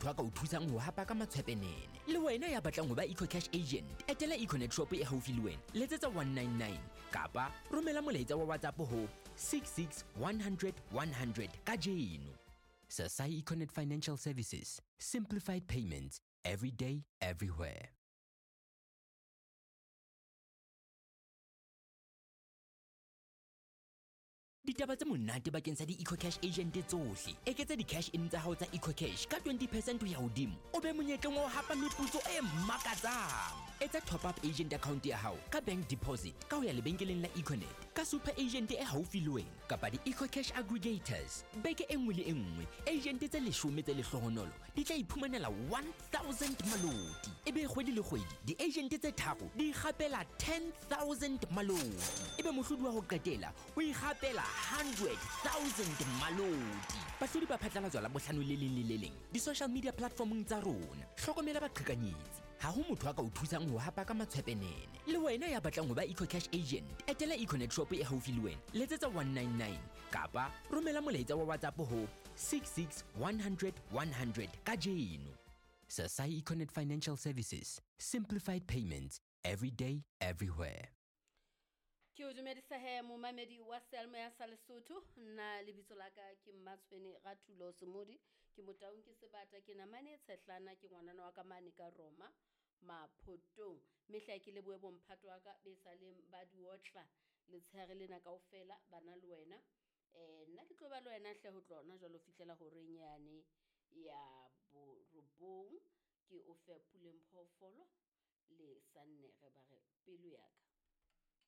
A ka o thusang ho hapa ka matshwepenene. Le wena ya batlang ho ba EcoCash agent, etela Econet shop e haufi le wena, letsetsa 199 kapa romela molaetsa wa WhatsApp ho 66 100 100 kajeno. Sasai Econet Financial Services, simplified payments every day, everywhere. Ditaba tse monate bakeng sa di-EcoCash agent tsohle. Eketsa di-cash in tsa hao tsa EcoCash ka 20 percent ho ya hodimo, o be monyetleng wa ho hapa meputso e makatsang. Etsa top up agent account ya hao ka bank deposit ka ho ya lebenkeleng la Econet, ka super agent e haufi le wena kapa di-EcoCash aggregators. Beke e nngwe le e nngwe, agent tse 10 tse lehlohonolo di tla iphumanela 1000 maloti. Ebe kgwedi le kgwedi, di-agent tse tharo di ikgapela 10 000 maloti. Ebe mohlodi wa ho qetela o ikgapela 100 000 maloti. Bahlodi ba phatlalatswa la bohlano le leng le le leng di-social media platformong tsa rona. Hlokomela baqhekanyetsi, ha ho motho a ka o thusang ho hapa ka matshwepenene. Le wena ya batlang ho ba EcoCash agent, etela Econet shop e haufi le wena, letsetsa 199 kapa romela molaetsa wa WhatsApp ho 66 100 100 kajeno. Sasai Econet Financial Services, simplified payments every day, everywhere. Ke o dumedisa he, momamedi wa seyalemoya sa Lesotho. Nna lebitso la ka ke Mmatshwene Rathulo Semodi, ke Motaung, ke sebata, ke namane e tshehlana, ke ngwanana wa ka mane ka Roma Maphotong. Mehla ke lebohe bomphato wa ka be sa leng ba diotla letshehare lena kaofela bana le wena. Nna ke tlo ba le wena hle ho tlona jwalo fihlela horeng yane ya 9, ke o fe Puleng Phoofolo le Sannere ba re pelo ya ka.